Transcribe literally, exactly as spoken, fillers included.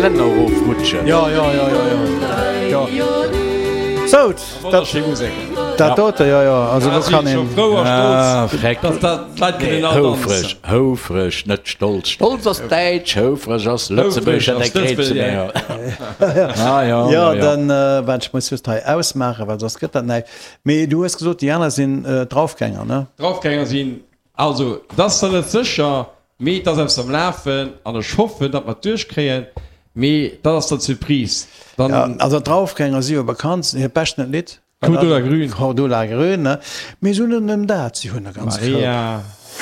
Gelänner erofrutschen. Jo, jo, jo, jo, jo, jo. Sou, dat, Wonnerschéi Musek. dat dote, jo, jo, also do kann een. Frou a Ah, stolz, freck. dass dat d'Leit kënnen all Houfreg, danzen. houfreg, net stolz. Stolz ass däitsch, houfreg ass lëtzebuergesch, Houfreg dat ass kréit ze Lëtzebuerger. mir. Ah, ja, Jo, ja, ja. dann, äh, waart, ech muss just hei ausmaachen, well soss gëtt dat näischt. Mee du hues gesot, déi aner sinn äh, Draufgänger, ne? Draufgänger sinn. Also, dat ass dann net sécher, mee et ass eppes am Lafen an ech hoffen, datt mer et duerchkréien, mee dat ass dann d'Surprise. Dann Ja, also d'Draufgänger si jo bekannt, hiert beschten Lidd. Cordula Grün. Cordula Grün, ne? Mee si hunn net nëmmen dat, si hunn e ganz Maria. Koup.